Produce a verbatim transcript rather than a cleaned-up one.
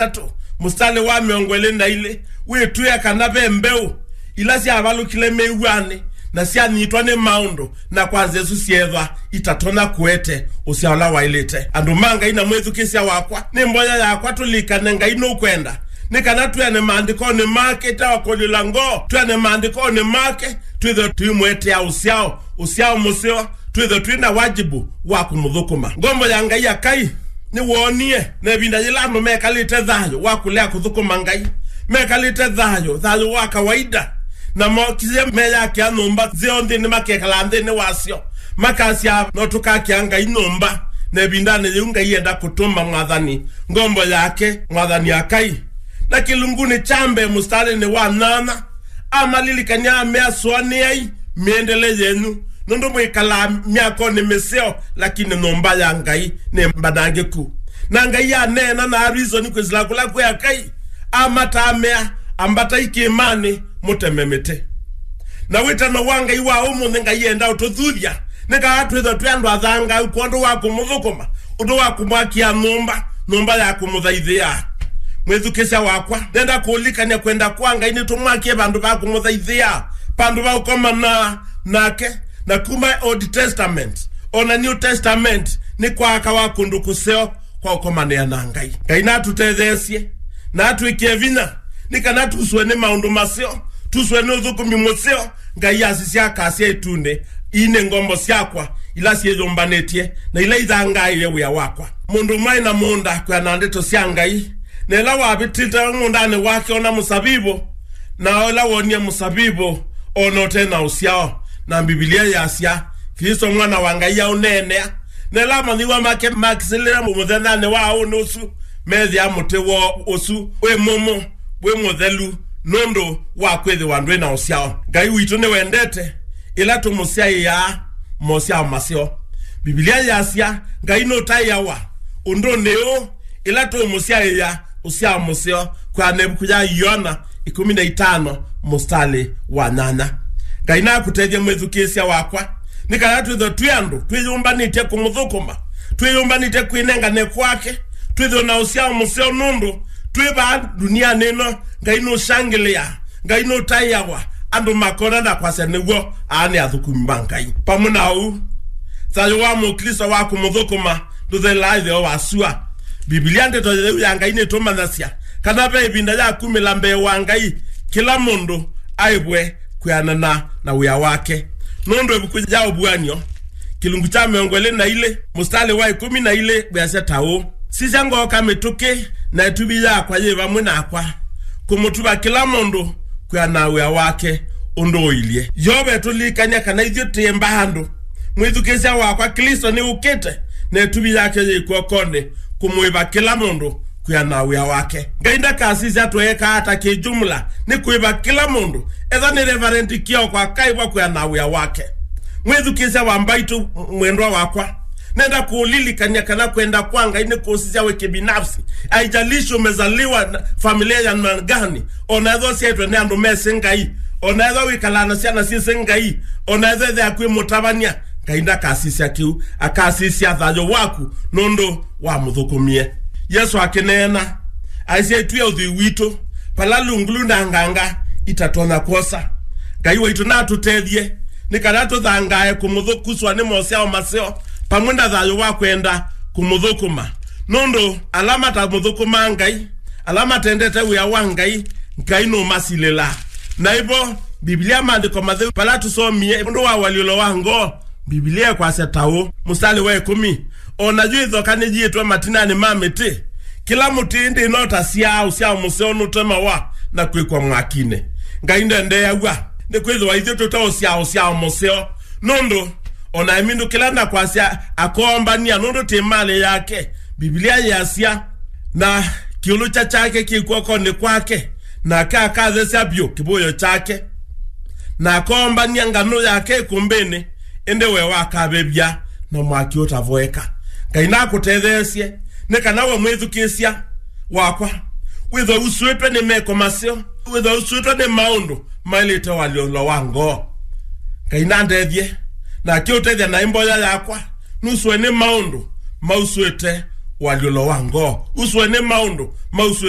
itatũ, mũsitalĩ wa mĩongo ĩlĩ na ilĩ, wĩtwĩa kana ve mbeũ ila syavalũkile mĩw'anĩ na syanyitwa nĩ maũndũ, na kwanza isu syeethwa itatonya kũete ũsyao ũla waĩlĩte. Andũ ma Ngai na mwĩthukĩĩsya wakwa, nĩ mboya yakwa tũlikane Ngai nũkwenda, nĩ kana twĩane maandĩkonĩ make, ĩte wa kũlyũla ngoo, twĩane maandĩkonĩ make, twĩthwe tũimũetea ũsyao, ũsyao mũseo, twĩthwe twĩ na wajibu wa kũmũthũkũma. Ngombo ya Ngai Akai nĩwoonie na ĩvinda yĩla andũ mekalĩte thayũ wa kũlea kũthũkũma Ngai, mekalĩte thayũ, thayũ wa kawaida, na mokisye meyakĩa nyũmba nzeo nthĩnĩ, makekala nthĩnĩ wasyo, makasya, "No tũkakĩa Ngai nyũmba." Na ĩvindanĩ yĩu Ngai enda kũtũma mwathani, ngombo yake, mwathani Akai. Na kĩlungunĩ kya mbee mũsitalĩnĩ wa nyanya, amalilikany'a, amea, "Sũanĩai mĩendele yenyu, nũndũ mwĩkalaa myakonĩ mĩseo, lakini nyũmba ya Ngai nĩ mbanangĩku." Na Ngai aneena na arizoni kwĩsĩla kũla kwĩ Akai, amata amea, "Ambatai kĩĩmanĩ, mũteme mĩtĩ." Na wĩtano wa Ngai wa ũmũnthĩ, Ngai enda ũtũthuthya, nĩ kana twĩthwe twĩ andũ athangau kwondũ wa kũmũthũkũma, ũndũ wa kũmwakĩa nyũmba, nyũmba ya kũmũthaithĩa. Mwĩthukĩĩsya wakwa, nenda kũũlikany'a kwenda kwa Ngai nĩtũmwakĩe vandũ va kũmũthaithĩa, vandũ va ũkomana nake. Na kuma Old Testament, o na New Testament, nĩ kwaakawa kũndũ kũseo kwa ũkomanĩa na Ngai. Ngai natũtetheesye, na atwĩkĩe vinya, nĩ kana tuswe nĩ maũndũ maseo, tuswe nĩ ũthũkũmi mũseo. Ngai asisya akasya ĩtunĩ, "Ii nĩ ngombo syakwa ila syĩyũmbanĩtye na ila ithangaĩe wĩa wakwa." Mũndũ ũmwe aĩ na mũũnda kwĩana na ndeto sya Ngai, na ĩla wavĩtĩte mũũndanĩ wake ona mũsavivũ, na ĩla wonie mũsavivũ ona ũte na ũsyao. Na Mbivilia yasya, Klĩsto Mwana wa Ngai aũneenea, na ĩla amanyĩw'a make makisĩlĩle mũthenyanĩ wa ũnĩ ũsu, meethĩa mũtĩ woo ũsu wĩ mũmũ, wĩ mũthelu, nũndũ wa kwĩthĩwa ndwĩ na ũsyao. Ngai witũ nĩwendete ĩla tũmũsyaĩaa mosyao maseo. Mbivilia yasya Ngai nũtaĩawa ũndũnĩ ũũ, ĩla tũũmũsyaĩa ũsyao mũseo, kwĩana na ĩvuku ya Yoana ĩkũmi na itano mũsitalĩ wa nyanya. Ngai nakũtethye mwĩthukĩĩsya wakwa, nĩ kana twĩthwe twĩ andũ twĩyũmbanĩtye kũmũthũkũma, twĩyũmbanĩtye kwĩnengane kwake, twĩthwe na ũsyao mũseo, nũndũ twĩ vaa ndunianĩ ĩno, Ngai nũshangĩlĩaa, Ngai nũtaĩawa, andũ makona na kwasya, "Nĩw'o, aa nĩ athũkũmi ma Ngai." Pamwe na ũu, thayũ wa Mũklĩsto wa kũmũthũkũma ndũthelaa ĩtheo wa sua. Mbivilia, ndeto yĩu ya Ngai, nĩtũmanyasya kana ve ĩvinda ya kumĩla mbee wa Ngai, kĩla mũndũ aĩvwe kwĩanana na wĩa wake. Nũndũ ĩvuku ya Ũvuan'yo, kĩlungu kya mĩongo ĩlĩ na ilĩ, mũsitalĩ wa ĩkũmi na ilĩ wĩasya ta ũũ, "Sisya, ngooka mĩtũkĩ na ĩtuvi yakwa yĩ vamwe nakwa, kũmũtuva kĩla mũndũ kwĩana na wĩa wake ũndũ ũilyĩ." Yeova etũlilikany'a kana ithyĩ tĩ mbaandũ. Mwĩthukĩĩsya wakwa, Klĩsto nĩũkĩte na ĩtuvi yake yĩ kw'okonĩ kũmũĩva kĩla mũndũ kwĩana na wĩa wake. Ngai ndakasisya tweekaa ata kĩ-jumla, nĩ kũĩva kĩla mũndũ, etha nĩ Reverend Kioko akaĩvwa kwĩana na wĩa wake. Mwĩthukĩĩsya wa mbaitũ mwendwa wakwa, nenda kũũlilikany'a kana kwenda kwa Ngai nĩ kũsisya we kibinafsi. Haijalishi umezaliwa na familia ya namna gani, ona ethwa ũsyaĩtwe nĩ andũ mesĩ Ngai, ona ethwa wĩkalaa na syana syĩsĩ Ngai, ona ethwa ĩthe yaku ĩ mũtavany'a, Ngai ndakasisya kĩu, akasisya thayũ waku nũndũ wamũthũkũmie. Yesũ akĩneena, aisye, "Ĩtw'ĩe ũthwii witũ, vala lungulu na nganga itatonya kwosa." Ngai waitũ natũtethye nĩ kana tũthangae kũmũthũkũswa nĩ mosyao maseo, pamwe na thayũ wa kwenda kũmũthũkũma, nũndũ ala matamũthũkũmaa Ngai, ala matendete wĩa wa Ngai, Ngai nũmasilĩlaa. Na ĩvo, Mbivilia, Maandĩko Matheu, vala tũsomie ũndũ wa ũalyũlo wa ngoo, Mbivilia ĩkwasya ta ũũ, mũsitalĩ wa ĩkũmi, "O na yu ĩthoka nĩyiĩtwe matinanĩ ma mĩtĩ. Kĩla mũtĩ ĩndĩ no ta syaa ũsyao mũseo nũtemawa na kwĩkwa mwakinĩ." Ngai ndendeeaw'a nĩ kwĩthĩwa ithyĩ tũte ũsyao, ũsyao mũseo, nũndũ o na emindũkĩla na kwasya akoombany'a, nũndũ tĩ malĩ yake. Mbivilia yĩasya, "Na kĩũlũkya kyake kĩ kw'okonĩ kwake, nake akathesya vyũ kĩvũĩo kyake, na akoombany'a nganũ yake ĩkũmbĩnĩ, ĩndĩ we wakavĩvya na mwaki ũtavoeka." Ngai nakũtetheesye nĩ kana we mwĩthukĩĩsya wakwa wĩthwe usũĩtwe nĩ meko maseo, wĩthwe usũĩtwe nĩ maũndũ maĩlĩte ũalyũlo wa ngoo. Ngai nandethye, na akĩũtethya naĩ mboya yakwa nusũe nĩ maũndũ mausũĩte ũalyũlo wa ngoo. Uswe nĩ maũndũ mauswĩte